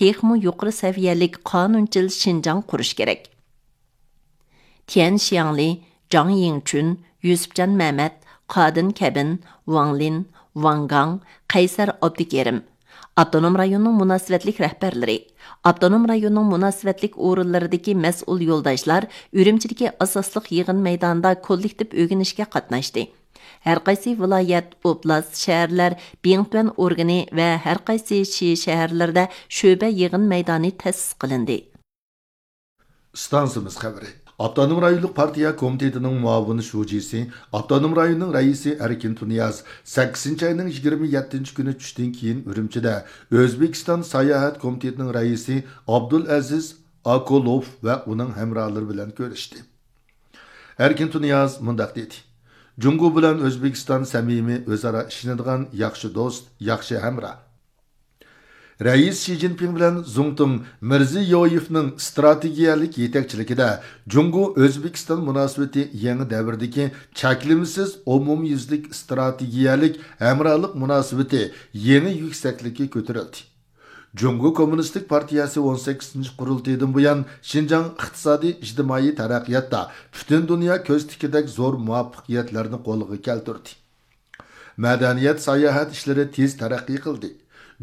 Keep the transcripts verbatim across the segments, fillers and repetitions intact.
تېخىمۇ يۇقىرى سەۋىيەلىك قانۇنچىل شىنجاڭ قۇرۇش كېرەك. تيەن شياڭلى، جاڭ يىڭچۈن، يۈسۈپجان مەمەت، قادىن كەبىن، ۋاڭ لىن، ۋاڭ گاڭ، قەيسەر ئابدۇكېرىم، ئاپتونوم رايوننىڭ مۇناسىۋەتلىك رەھبەرلىرى، ئاپتونوم رايوننىڭ مۇناسىۋەتلىك ئورۇنلىرىدىكى مەسئۇل يولداشلار ئۈرۈمچىدىكى ئاساسلىق يىغىن مەيدانىدا كوللېكتىپ ئۆگىنىشكە قاتناشتى. ھەرقايسى ۋىلايەت، ئوبلاست، شەھەرلەر بىڭتۈەن ئورگىنى ۋە ھەرقايسى شى شەھەرلىرىدە شۆبە يىغىن مەيدانى تەسىس قىلىندى. ئىستانسىمىز خەۋىرى. ئاپتونوم رايونلۇق پارتىيە كومىتېتىنىڭ مۇئاۋىن شۇجىسى، ئاپتونوم رايوننىڭ رەئىسى ئەركىن تۇنىياز سەككىزىنچى ئاينىڭ يىگىرمە يەتتىنچى كۈنى چۈشتىن كېيىن ئۈرۈمچىدە ئۆزبېكىستان ساياھەت كومىتېتىنىڭ رەئىسى ئابدۇلئەزىز ئاكولوف ۋە ئۇنىڭ ھەمراھلىرى بىلەن كۆرۈشتى. ئەركىن تۇنىياز مۇنداق دېدى: جۇڭگو بىلەن ئۆزبېكىستان سەمىمىي، ئۆزئارا ئىشىنىدىغان ياخشى دوست، ياخشى ھەمراھ. رەئىس شى جىنپىڭ بىلەن زۇڭتۇڭ مىرزىيويېۋنىڭ ئىستراتېگىيەلىك يېتەكچىلىكىدە جۇڭگو ئۆزبېكىستان مۇناسىۋىتى يېڭى دەۋردىكى چەكلىمىسىز ئومۇميۈزلۈك ئىستراتېگىيەلىك ھەمراھلىق مۇناسىۋىتى يېڭى يۈكسەكلىككە كۆتۈرۈلدى. جۇڭگو كوممۇنىستىك پارتىيەسى ئون سەككىزىنچى قۇرۇلتىيىدىن بۇيان شىنجاڭ ئىقتىسادىي ئىجتىمائىي تەرەققىياتتا پۈتۈن دۇنيا كۆز تىككۈدەك زور مۇۋەپپەقىيەتلەرنى قولغا كەلتۈردى. مەدەنىيەت، ساياھەت ئىشلىرى تېز تەرەققىي قىلدى.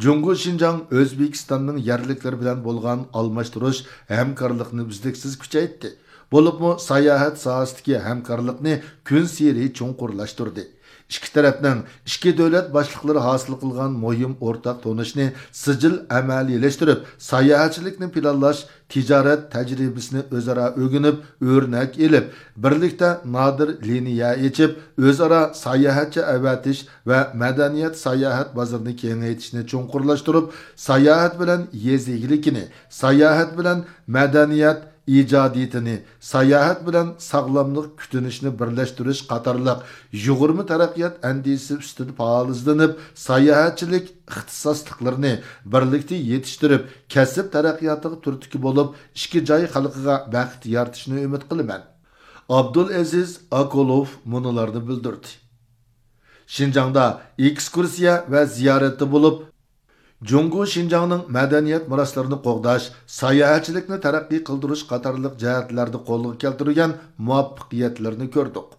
جۇڭگو شىنجاڭ ئۆزبېكىستاننىڭ يەرلىكلىرى بىلەن بولغان ئالماشتۇرۇش ھەمكارلىقىنى ئۈزلۈكسىز كۈچەيتتى، بولۇپمۇ ساياھەت ساھەسىدىكى ھەمكارلىقنى كۈنسېرى چوڭقۇرلاشتۇردى. ئىككى تەرەپنىڭ ئىككى دۆلەت باشلىقلىرى ھاسىل قىلغان مۇھىم ئورتاق تونۇشنى سىجىل ئەمەلىيلەشتۈرۈپ، ساياھەتچىلىكنى پىلانلاش، تىجارەت تەجرىبىسىنى ئۆزئارا ئۆگىنىپ، ئۆرنەك ئېلىپ، بىرلىكتە نادىر لىنىيە ئېچىپ، ئۆزئارا ساياھەتچى ئەۋەتىش ۋە مەدەنىيەت ساياھەت بازىرىنى كېڭەيتىشنى چوڭقۇرلاشتۇرۇپ، ساياھەت بىلەن يېزا ئىگىلىكىنى، ساياھەت بىلەن مەدەنىيەت ئىجادىيىتىنى، ساياھەت بىلەن ساغلاملىق كۈتۈنۈشنى بىرلەشتۈرۈش قاتارلىق يۇغۇرما تەرەققىيات ئەندىزىسى ئۈستىدە پائال ئىزدىنىپ، ساياھەتچىلىك ئىختىساسلىقلىرىنى بىرلىكتە يېتىشتۈرۈپ، كەسىپ تەرەققىياتىغا تۈرتكە بولۇپ، ئىككى جاي خەلقىگە بەخت يارىتىشنى ئۈمىد قىلىمەن. ئابدۇلئەزىز ئاكولوف مۇنۇلارنى بىلدۈردى. شىنجاڭدا ئېكسكۇرسىيە ۋە زىيارەتتە بولۇپ، جۇڭگو شىنجاڭنىڭ مەدەنىيەت مىراسلىرىنى قوغداش، ساياھەتچىلىكنى تەرەققىي قىلدۇرۇش قاتارلىق جەھەتلەردە قولغا كەلتۈرگەن مۇۋەپپەقىيەتلىرىنى كۆردۇق.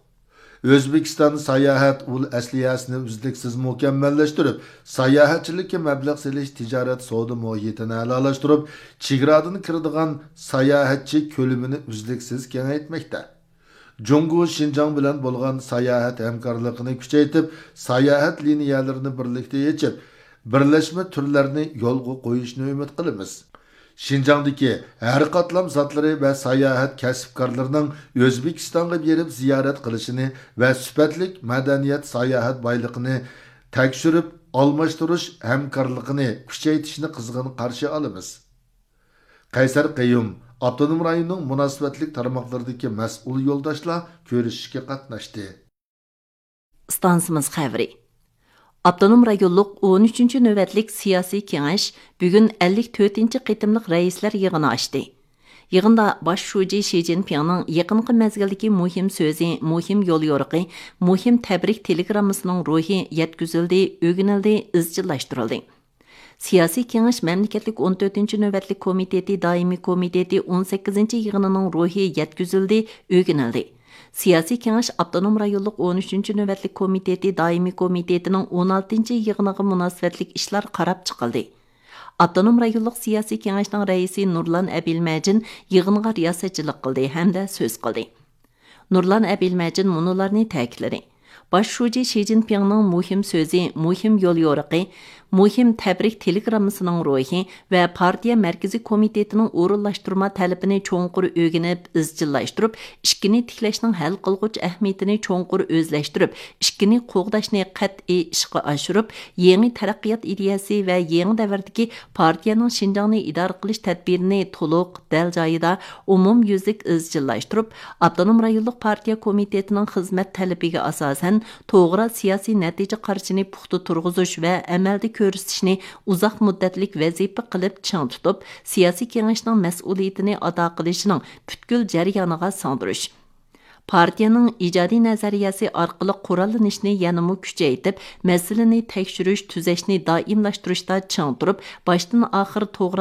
ئۆزبېكىستان ساياھەت ئۇل ئەسلىھەسىنى ئۈزلۈكسىز مۇكەممەللەشتۈرۈپ، ساياھەتچىلىككە مەبلەغ سېلىش تىجارەت سودا مۇھىتىنى ئەلالاشتۇرۇپ، چېگرادىن كىرىدىغان ساياھەتچى كۆلىمىنى ئۈزلۈكسىز كېڭەيتمەكتە. جۇڭگو شىنجاڭ بىلەن بولغان ساياھەت ھەمكارلىقىنى كۈچەيتىپ، ساياھەت لىنىيەلىرىنى بىرلىكتە ئېچىپ، بىرلەشمە تۈرلەرنى يولغا قويۇشنى ئۈمىد قىلىمىز. شىنجاڭدىكى ھەر قاتلام زاتلىرى ۋە ساياھەت كەسىپكارلىرىنىڭ ئۆزبېكىستانغا بېرىپ زىيارەت قىلىشىنى ۋە سۈپەتلىك مەدەنىيەت ساياھەت بايلىقىنى تەكشۈرۈپ ئالماشتۇرۇش ھەمكارلىقىنى كۈچەيتىشنى قىزغىن قارشى ئالىمىز. قەيسەر قەييۇم ئاپتونوم رايوننىڭ مۇناسىۋەتلىك تارماقلىرىدىكى مەسئۇل يولداشلار كۆرۈشۈشكە قاتناشتى. ئىستانسىمىز خەۋىرى. ئاپتونوم رايونلۇق ئون ئۈچىنچى نۆۋەتلىك سىياسىي كېڭەش بۈگۈن ئەللىك تۆتىنچى قېتىملىق رەئىسلەر يىغىنى ئاچتى. يىغىندا باش شۇجى شى جىنپىڭنىڭ يېقىنقى مەزگىلدىكى مۇھىم سۆزى، مۇھىم يوليورۇقى، مۇھىم تەبرىك تېلېگراممىسىنىڭ روھى يەتكۈزۈلدى، ئۆگىنىلدى، ئىزچىللاشتۇرۇلدى. سىياسىي كېڭەش مەملىكەتلىك ئون تۆتىنچى نۆۋەتلىك كومىتېتى دائىمىي كومىتېتى ئون سەككىزىنچى يىغىنىنىڭ روھى يەتكۈزۈلدى، ئۆگىنىلدى. سىياسىي كېڭەش ئاپتونوم رايونلۇق ئون ئۈچىنچى نۆۋەتلىك كومىتېتى دائىمىي كومىتېتىنىڭ ئون ئالتىنچى يىغىنىغا مۇناسىۋەتلىك ئىشلار قاراپ چىقىلدى. ئاپتونوم رايونلۇق سىياسىي كېڭەشنىڭ رەئىسى نۇرلان ئەبىلمەجىن يىغىنغا رىياسەتچىلىك قىلدى ھەمدە سۆز قىلدى. نۇرلان ئەبىلمەجىن مۇنۇلارنى تەكىتلىدى. باش شۇجى شى جىنپىڭنىڭ مۇھىم سۆزى، مۇھىم يوليورۇقى، مۇھىم تەبرىك تېلېگراممىسىنىڭ روھى ۋە پارتىيە مەركىزىي كومىتېتىنىڭ ئورۇنلاشتۇرما تەلىپىنى چوڭقۇر ئۆگىنىپ، ئىزچىللاشتۇرۇپ، ئىككىنى تىكلەشنىڭ ھەل قىلغۇچ ئەھمىيىتىنى چوڭقۇر ئۆزلەشتۈرۈپ، ئىككىنى قوغداشنى قەتئىي ئىشقا ئاشۇرۇپ، يېڭى تەرەققىيات ئىدىيەسى ۋە يېڭى دەۋردىكى پارتىيەنىڭ شىنجاڭنى ئىدارە قىلىش تەدبىرىنى تولۇق، دەل جايىدا، ئومۇميۈزلۈك ئىزچىللاشتۇرۇپ، ئاپتونوم رايونلۇق پارتىيە كومىتېتىنىڭ خىزمەت تەلىپىگە ئاساسەن، توغرا سىياسىي نەتىجە قارىشىنى پۇختا تۇرغۇزۇش ۋە ئەمەلدە كۆرسىتىشنى ئۇزاق مۇددەتلىك ۋەزىپە قىلىپ چىڭ تۇتۇپ، سىياسىي كېڭەشنىڭ مەسئۇلىيىتىنى ئادا قىلىشىنىڭ پۈتكۈل جەريانىغا سىڭدۈرۈش. پارتىيەنىڭ ئىجادىي نەزەرىيەسى ئارقىلىق قوراللىنىشنى يەنىمۇ كۈچەيتىپ، مەسىلىنى تەكشۈرۈش، تۈزەشنى دائىملاشتۇرۇشتا چىڭ تۇرۇپ، باشتىن ئاخىر توغرا